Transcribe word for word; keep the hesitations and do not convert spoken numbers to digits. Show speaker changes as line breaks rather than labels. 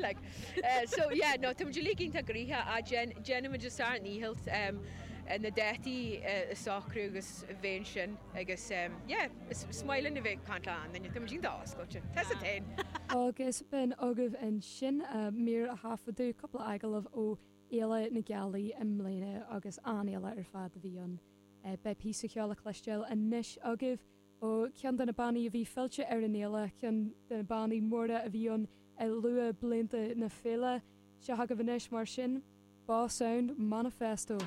like. Uh, so yeah, no, tá muid uilig iontach gnoitheach a déanaimid ár ndícheall um, na dátaí a shocrú agus bheith sin agus um, yeah, is maith linn a bheith ag caint le haon duine, tá muid iontach oscailte. Tá sa tain.
Agus b'in agaibh ansin mír a thaifeadadh cúpla agallamh ó Fhéile na Gealaí i mbliana agus an-fhéile ar fad a bhí ann. Beidh píosa ceoil le cloisteáil anois agaibh ó ceann de na bannaí a bhí fillte ar an fhéile, ceann de na bannaí móra a bhí ann i luathbhlianta na féile. Seo agaibh anois mar sin, Boss Sound Manifesto.